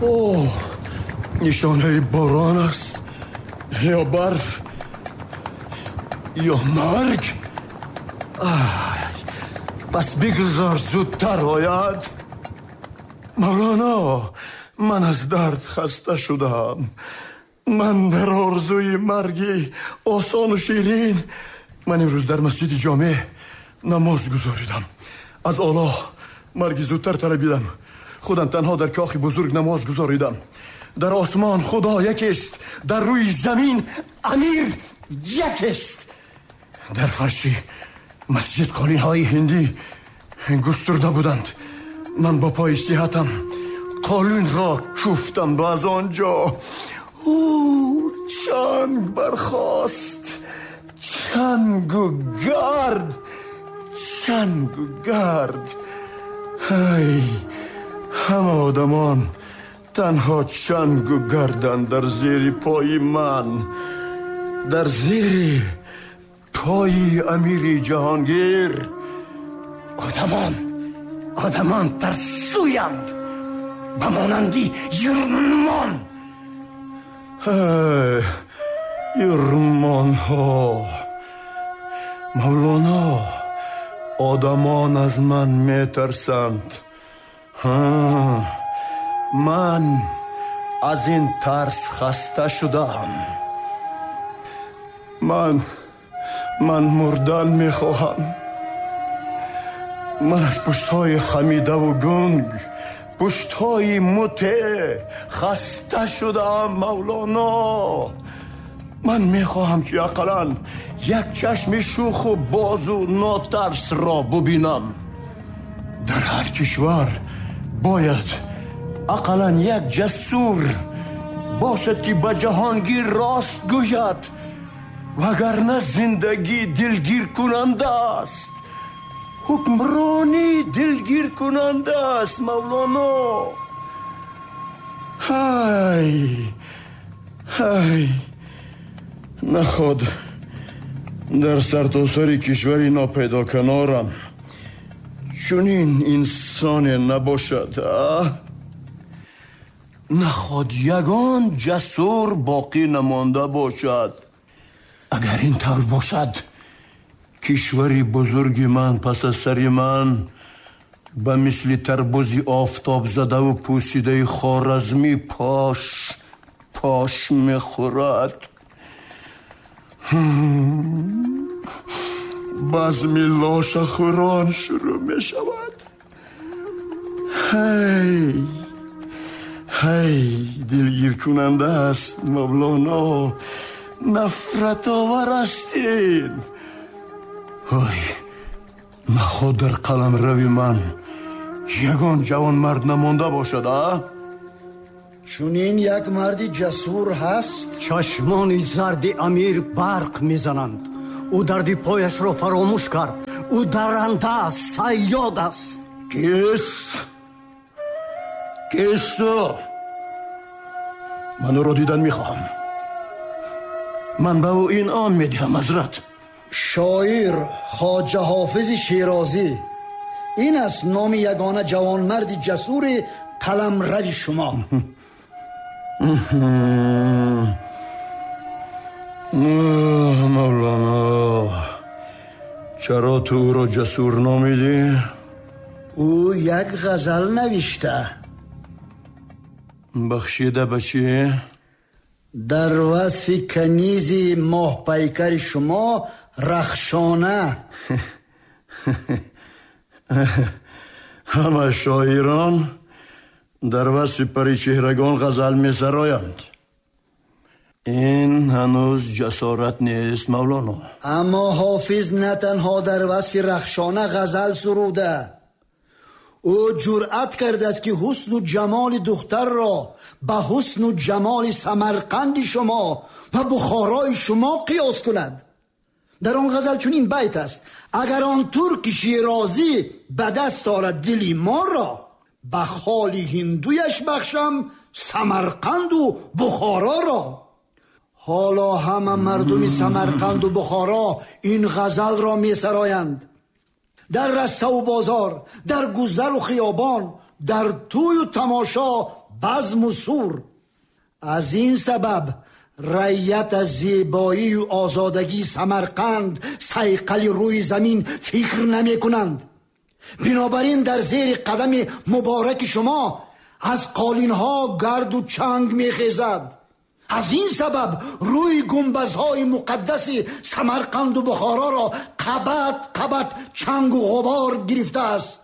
О, нишонаи борон аст ё барф ё марг. Пас бигзор зудтар ояд. Мавлоно, ман аз дард хаста шудам. Ман дар орзуи марги осону ширин. Ман имрӯз дар масҷиди ҷомеъ намоз гузоридам. Аз Аллоҳ марги зудтар талабидам. Худам танҳо дар кохи бузург намоз гузоридам. Дар осмон Худо якест, дар рӯи замин амир якест. Дар фарши масҷид қолинҳои ҳиндӣ густурда буданд. Ман бо пои сиҳатам қолинро кӯфтам ва аз он ҷо ӯ чанг бархост. Чангу гард, чангу гард. Ҳай, ҳама одамон танҳо чангу гарданд дар зери пои ман, дар зери пои амири ҷаҳонгир. Одамон, одамон тарсӯянд ба монанди юрмон. Юрмонҳо. Мавлоно, одамон аз ман метарсанд. Ман аз ин тарс хаста шудаам. Ман мурдан мехоҳам. Ман аз пуштҳои хамидаву гунг, пуштҳои муте хаста шудаам, Мавлоно. Ман мехоҳам ки ақаллан як чашми шӯху бозу нотарсро бубинам. Дар ҳар кишвар бояд ақаллан як ҷасур бошад, ки ба ҷаҳонгир рост гӯяд, вагарна зиндагӣ дилгиркунанда аст. Ҳукмронӣ дилгиркунанда аст, Мавлоно. Ҳай, ҳай, наход дар сартосари кишвари нопайдоканорам чунин инсоне набошад. Наход ягон ҷасур боқӣ намонда бошад. Агар ин тавр бошад, кишвари бузурги ман пас аз сари ман ба мисли тарбузи офтобзадаву пӯсидаи Хоразмӣ пош пош мехӯрад. Базми лошахӯрон шурӯъ мешавад. Ҳай, ҳай, дилгиркунанда аст, Мавлоно. Нафратовар аст ин. Ой, наход дар қаламрави ман ягон ҷавонмард намонда бошад, а? Чунин як марди ҷасур ҳаст. Чашмони зарди амир барқ мезананд. Ӯ дарди пояшро фаромӯш кард. Ӯ даранда аст, сайёд аст. Кист? Кист ӯ? Ман ӯро дидан мехоҳам. Ман ба ӯ инъом медиҳам, ҳазрат. Шоир Хоҷа Ҳофизи Шерозӣ. Ин аст номи ягона ҷавонмарди ҷасури қаламрави шумо. Мавлоно, чаро ту ӯро ҷасур номидӣ? Ӯ як ғазал навишта. Бахшида ба чӣ? Дар васфи канизи моҳпайкари шумо Рахшона. Ҳама шоирон дар васфи паричеҳрагон ғазал месароянд. Ин ҳанӯз ҷасорат нест, Мавлоно. Аммо Ҳофиз на танҳо дар васфи Рахшона ғазал суруда, ӯ ҷуръат кардааст, ки ҳусну ҷамоли духтарро ба ҳусну ҷамоли Самарқанди шумо ва Бухорои шумо қиёс кунад. Дар он ғазал чунин байт аст: агар он турки шерозӣ ба даст орад дили моро, ба холи ҳиндуяш бахшам Самарқанду Бухороро. Ҳоло ҳама мардуми Самарқанду Бухоро ин ғазалро месароянд. Дар раставу бозор, дар гузару хиёбон, дар тӯю тамошо базм ва сур. Аз ин сабаб раият аз зебоӣ ва озодагии Самарқанд, сайқали рӯи замин фикр намекунанд. Бинобар ин дар зери қадами мубораки шумо аз қолинҳо гарду чанг мехезад. Аз ин сабаб рӯи гунбазҳои муқаддаси Самарқанду Бухороро қабат қабат чангу ғубор гирифтааст.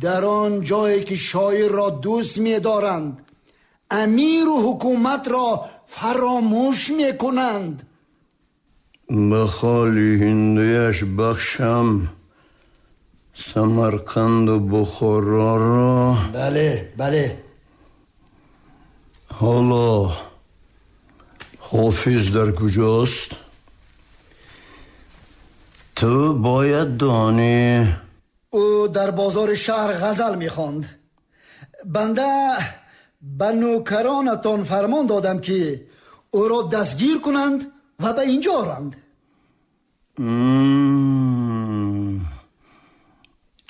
Дар он ҷое ки шоирро дӯст медоранд, амиру ҳукуматро фаромӯш мекунанд. Ба холи ҳиндуяш бахшам Самарқанду Бухороро. Бале, бале. Ҳоло ҳофиз дар куҷост? Ту бояд донӣ. Ӯ дар бозори шаҳр ғазал мехонд. Банда ба нӯкаронатон фармон додам, ки ӯро дастгир кунанд ва ба инҷо оранд.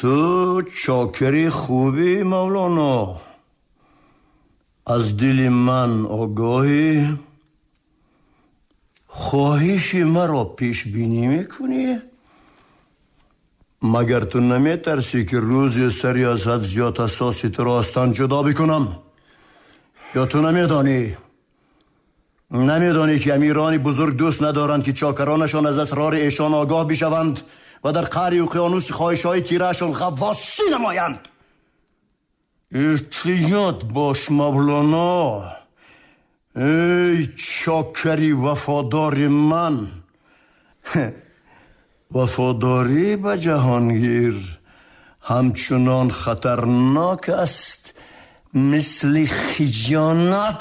Ту чокари хубӣ, Мавлоно. Аз дили ман огоҳӣ. Хоҳиши маро пешбинӣ мекунӣ? Магар ту наметарсӣ, ки рӯзе сари аз ҳад зиёд ҳассоси туро аз тан ҷудо бикунам? Ё ту намедонӣ? Намедонӣ, ки амирони бузург дӯст надоранд, ки чокаронашон аз асрори эшон огоҳ бишаванд ва дар қаъри уқёнуси хоҳишҳои тираашон ғаввосӣ намоянд? Эҳтиёт бош, Мавлоно. Эй чокари вафодори ман, вафодорӣ ба ҷаҳонгир ҳамчунон хатарнок аст, мисли хиёнат.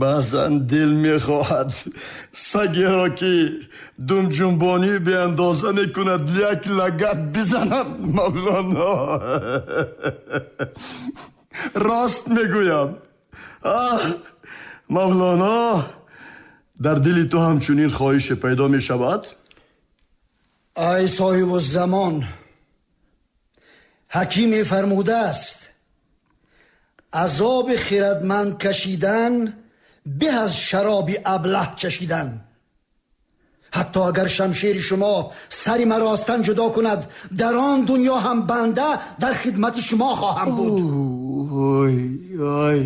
Баъзан дил мехоҳад сагеро, ки думҷунбонӣ беандоза мекунад, як лагат бизанам, Мавлоно. Рост мегӯям. Аҳ, Мавлоно, дар дили ту ҳамчунин хоҳише пайдо мешавад? Ай соҳибуззамон, ҳакиме фармудааст: азоби хирадманд кашидан беҳ аз шароби аблаҳ чашидан. Ҳатто агар шамшери шумо сари маро аз тан ҷудо кунад, дар он дунё ҳам банда дар хидмати шумо хоҳам буд. Ой, ой,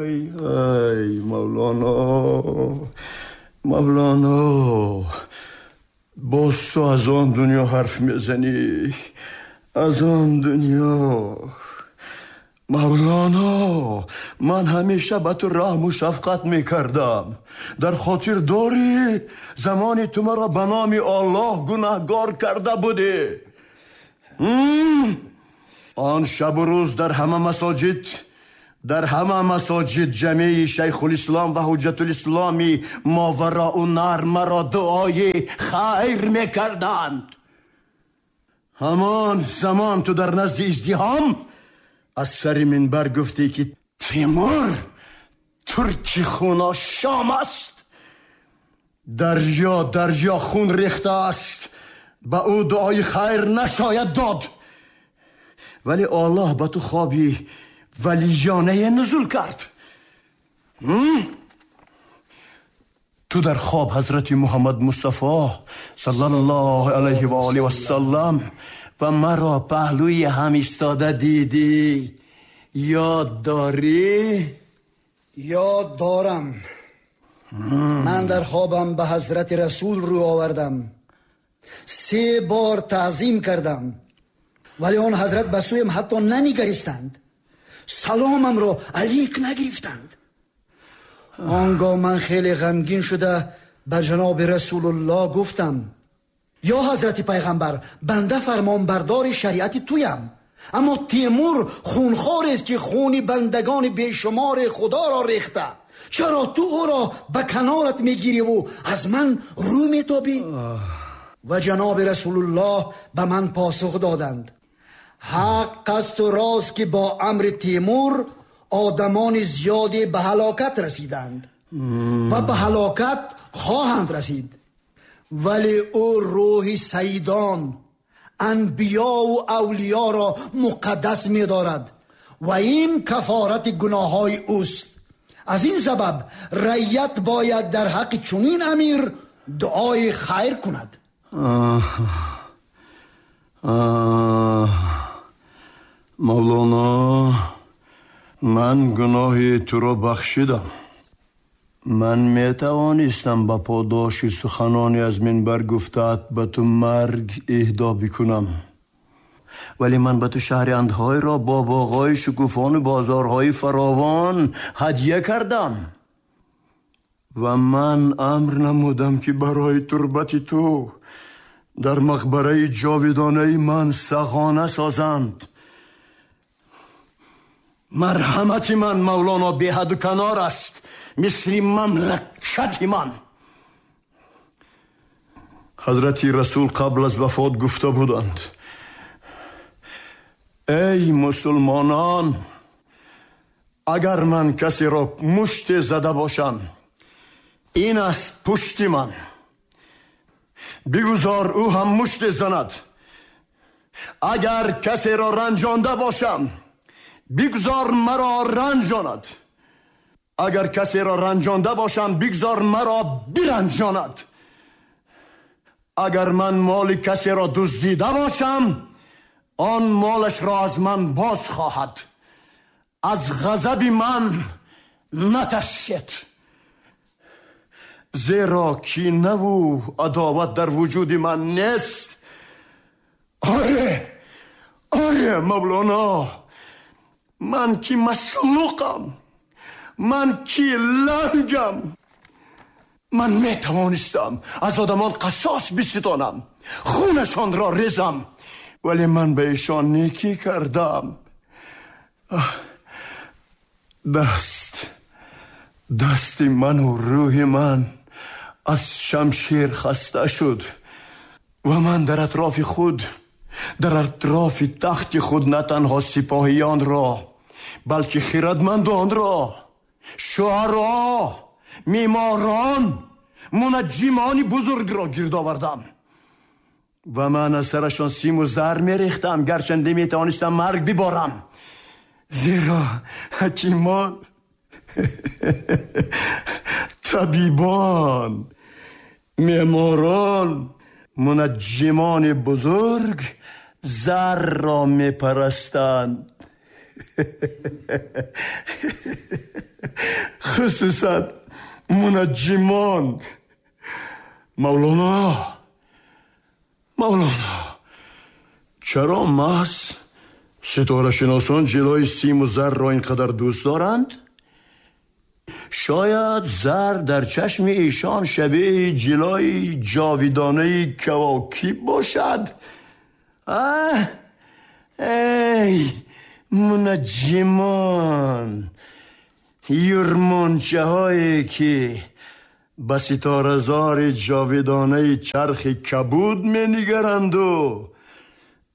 ой, ой, Мавлоно, Мавлоно, боз ту аз он дунё ҳарф мезанӣ, аз он дунё. Мавлоно, ман ҳамеша ба ту раҳму шафқат мекардам. Дар хотир дорӣ замоне ту маро ба номи Аллоҳ гунаҳгор карда будӣ? Он шабу рӯз дар ҳама масоҷид, дар ҳама масоҷид ҷамеи шайхулислом ва ҳуҷҷатулисломи мовароуннаҳр маро дуои хайр мекарданд. Ҳамон замон ту дар назди издиҳом аз сари минбар гуфтӣ, ки Тимур турки хуношом аст, дарё дарё хун рехта аст, ба ӯ дуои хайр нашояд дод. Вале Аллоҳ ба ту хоби валиёнае нузул кард. Ту дар хоб ҳазрати Муҳаммад Мустафо саллаллоҳу алайҳи ва олиҳи вассалам ва маро паҳлӯи ҳам истода дидӣ. Ёд дорӣ? Ёд дорам. Ман дар хобам ба ҳазрати расул рӯ овардам, се бор таъзим кардам, вале он ҳазрат ба сӯям ҳатто нанигаристанд, саломамро алик нагирифтанд. Он гоҳ ман хеле ғамгин шуда ба ҷаноби расулуллоҳ гуфтам: ё ҳазрати пайғамбар, банда фармонбардори шариати туям, аммо Тимур хунхорест, ки хуни бандагони бешумори худоро рехта. Чаро ту ӯро ба канорат мегириву аз ман рӯ метобӣ? Ва ҷаноби расулуллоҳ ба ман посух доданд: ҳақ асту рост, ки бо амри Тимур одамони зиёде ба ҳалокат расиданд ва ба ҳалокат хоҳанд расид, вале ӯ рӯҳи саидон, انبیا و اولیا را مقدس می‌دارد و این کفارت گناه‌های اوست. از این سبب رعیت باید در حق چنین امیر دعای خیر کند. مولانا، من گناه تو را بخشیدم. من می توانستم با پاداش سخنانی از منبر گفتت به تو مرگ اهدا بکنم، ولی من به تو شهر اندهای را با باغ‌های شکوفان و بازارهای فراوان هدیه کردم و من امر نمودم که برای تربت تو در مقبره جاودانه من سخانه سازند. مرحمت من مولانا بی حد و کنار است، مثل مملکت من. حضرت رسول قبل از وفات گفته بودند: ای مسلمانان، اگر من کسی را مشت زده باشم، این است پشت من، بگذار او هم مشت زند. اگر کسی را رنجانده باشم، بگذار مرا رنجاند. اگر کسی را رنجانده باشم، بگذار مرا برنجاند. اگر من مال کسی را دزدیده باشم، آن مالش را از من باز خواهد. از غضب من نترسید، زیرا کینه و عداوت در وجود من نیست. آره آره مولانا، من کی مسلوقم، من کی لنگم. من می توانستم از آدمان قصاص بستانم، خونشان را ریزم، ولی من به ایشان نیکی کردم. دست من و روح من از شمشیر خسته شد و من در اطراف خود، در اطراف تخت خود، نه تنها سپاهیان را، بلکه خردمندان را، شعرا، میماران، منجمان بزرگ را گرد آوردم و من از سرشان سیم و زر میریختم، گرچنده میتوانستم مرگ ببارم، زیرا حکیمان، طبیبان، معماران، منجمان بزرگ زر را میپرستند. خصوصا منجمان. مولانا، مولانا، چرا محض ستاره شناسان جلای سیم و زر را اینقدر دوست دارند؟ شاید زر در چشم ایشان شبیه جلای جاویدانه کواکب باشد. ای منجمان، یرمانچه هایی که به ستاره زار جاویدانه چرخ کبود می نگرند و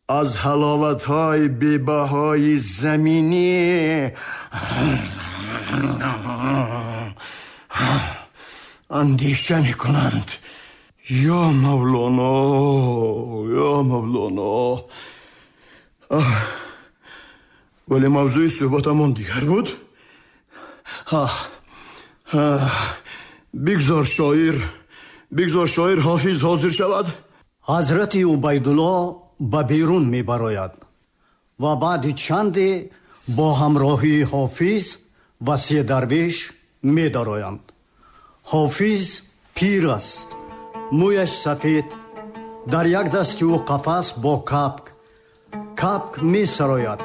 از حلاوت های بی‌بهای زمینی اندیشه می کنند. یا مولانا، یا مولانا. ولی موضوع صحبتمان دیگر بود. بگذار شاعر حافظ حاضر شود. حضرت عبیدالله به بیرون می براید و بعد چندی با همراهی حافظ و سه درویش می درآیند. حافظ پیر است، مویش سفید، در یک دست او قفس با کپک، کپک می سراید.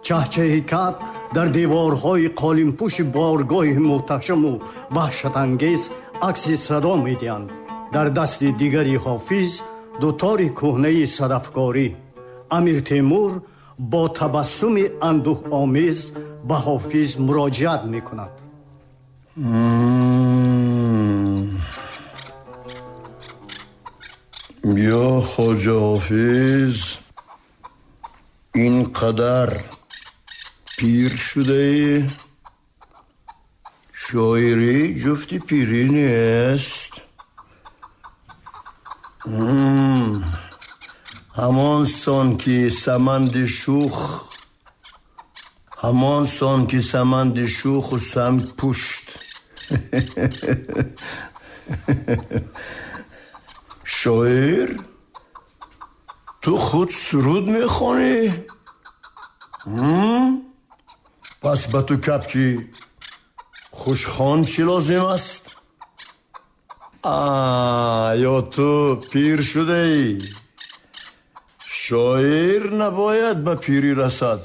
چهچه کپک در دیوارهای قالینپوش بارگاه محتشم و وحشت انگیز عکس صدا می دهند. در دست دیگری حافظ دوتار کهنه صدفکاری. امیر تیمور با تبسم اندوه آمیز به حافظ مراجعت می کند. یا خواجه حافظ، اینقدر پیر شده ای؟ شاعری جفت پیری نیست. Ҳамон сон ки саманди шух, ҳамон сон ки саманди шуху санг пушт. Шоир, ту худ суруд мехонӣ? Пас ба ту капки хушхон чӣ лозим аст? Ё ту пир шудаӣ? Шоир набояд ба пирӣ расад.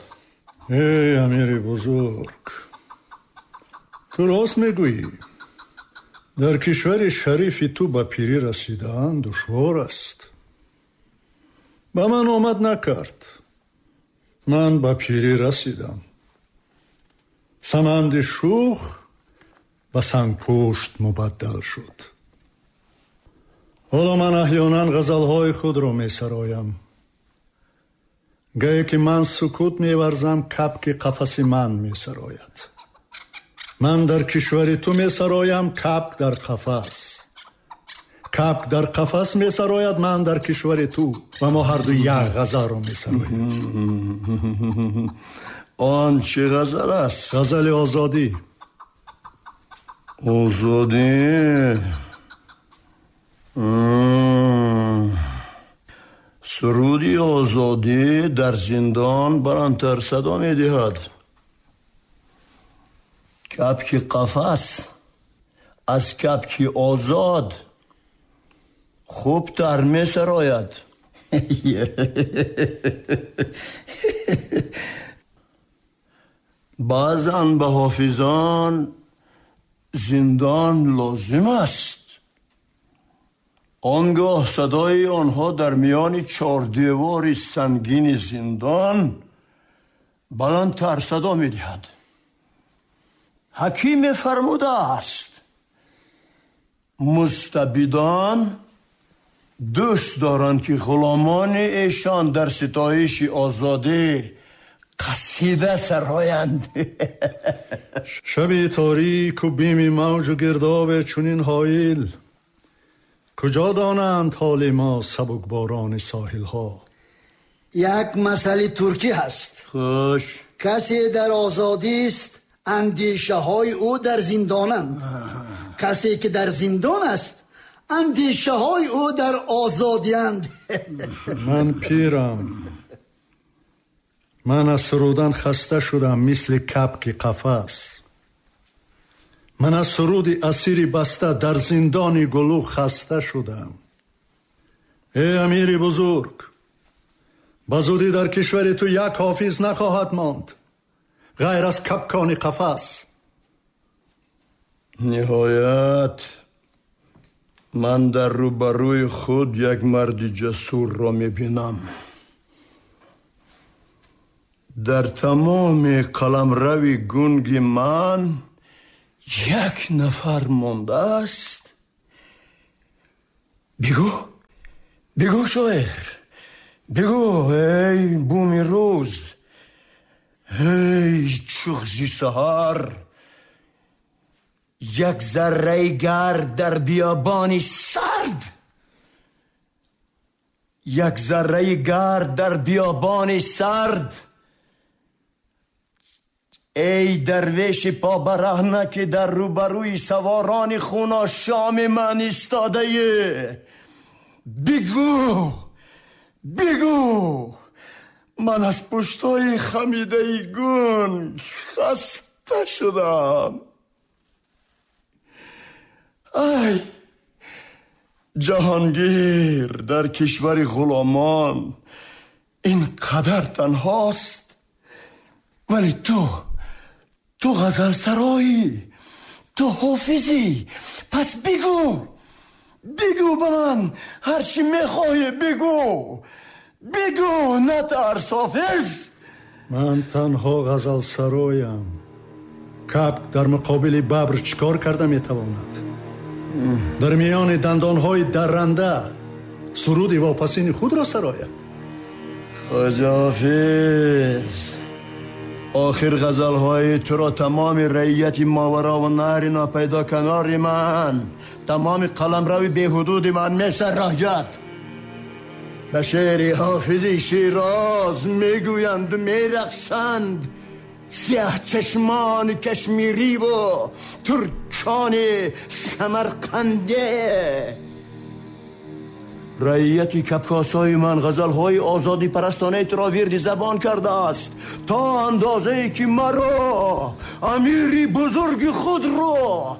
Эй амири бузург, ту рост мегӯӣ. Дар кишвари шарифи ту ба пирӣ расидан душвор аст. Ба ман омад накард. Ман ба пирӣ расидам. Саманди шух ба сангпушт мубаддал шуд. Ҳоло ман аҳёнан ғазалҳои худро месароям. Гае ки ман сукут меварзам, капки қафаси ман месарояд. Ман дар кишвари ту месароям, капк дар қафас. Капк дар қафас месарояд, ман дар кишвари ту, ва мо ҳарду як ғазалро месароем. Он чӣ ғазал аст? Ғазали озодӣ. Озодӣ? Суруди озодӣ дар зиндон баландтар садо медиҳад. Капки қафас аз капки озод хубтар месарояд. Баъзан ба ҳофизон зиндон лозим аст. Он гоҳ садои онҳо дар миёни чордевори сангини зиндон баландтар садо медиҳад. Ҳакиме фармудааст: мустабидон дӯст доранд ки ғуломони эшон дар ситоиши озодӣ қасида сароянд. Шаби торику бими мавҷу гирдобе чунин ҳоил, куҷо донанд ҳоли мо сабукборони соҳилҳо? Як масъали туркӣ ҳаст. Хуш. Касе дар озодист, андешаҳои ӯ дар зиндонанд. Касе ки дар зиндон аст, андешаҳои ӯ дар озодиянд. Ман пирам. Ман аз сурудан хаста шудам, мисли капки қафас. Ман аз суруди асири баста дар зиндони гулӯ хаста шудам. Эй амири бузург, ба зудӣ дар кишвари ту як ҳофиз нахоҳад монд ғайр аз капкони қафас. Ниҳоят ман дар рӯбарӯи худ як марди ҷасурро мебинам. Дар тамоми қаламрави гунги ман як нафар мондааст. Бигӯ, бигӯ шоир, бигӯ эй буми рӯз, эй чуғзи саҳар, як зарраи гард дар биёбони сард, як зарраи гард дар биёбони сард. Эй дарвеши побараҳна ки дар рӯбарӯи саворони хуношоми ман истодаӣ, бигӯ, бигӯ, ман аз пуштҳои хамидаи гунг хаста шудам. Ай ҷаҳонгир дар кишвари ғуломон ин қадар танҳост, вале ту ғазалсароӣ, ту ҳофизӣ. Пас бигӯ, бигӯ ба ман ҳарчи мехоҳӣ, бигӯ, бигӯ, натарс ҳофиз. Ман танҳо ғазалсароям. Капк дар муқобили бабр чӣ кор карда метавонад? Дар миёни дандонҳои дарранда суруди вопасини худро сарояд. Хоҷа ҳофиз, охир ғазалҳои туро тамоми раияти моварову наҳри нопайдо канори ман, тамоми қаламрави беҳудуди ман месарояд. به شعر حافظ شیراز میگویند و میرقصند سیاه چشمان کشمیری و ترکان سمرقنده. رعیت کپکاسای من غزلهای آزادی پرستانه را ورد زبان کرده است تا اندازه که مرا، امیری بزرگ خود را،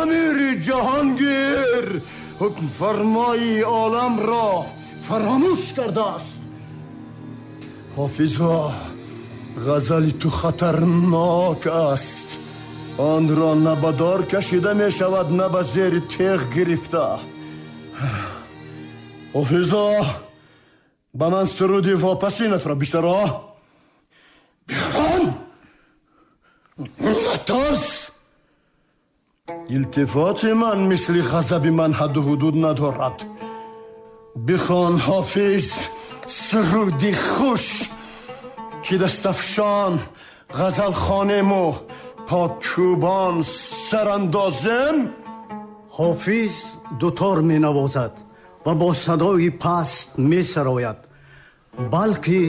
امیر جهانگیر، حکم فرمای عالم را فراموش کرده است. حافظا، غزل تو خطرناک است. آن را نه به دار کشیده می شود، نه به زیر تیغ گرفته. حافظا، به من سرودی واپسینت را بسرا. بخوان، نترس. التفات من مثل غضب من حد و حدود ندارد. بخوان حافظ، سرودی خوش که دستفشان غزل خوانیم و پاکوبان سراندازم. Ҳофиз дутор менавозад ва бо садои паст месарояд, балки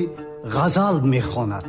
ғазал мехонад.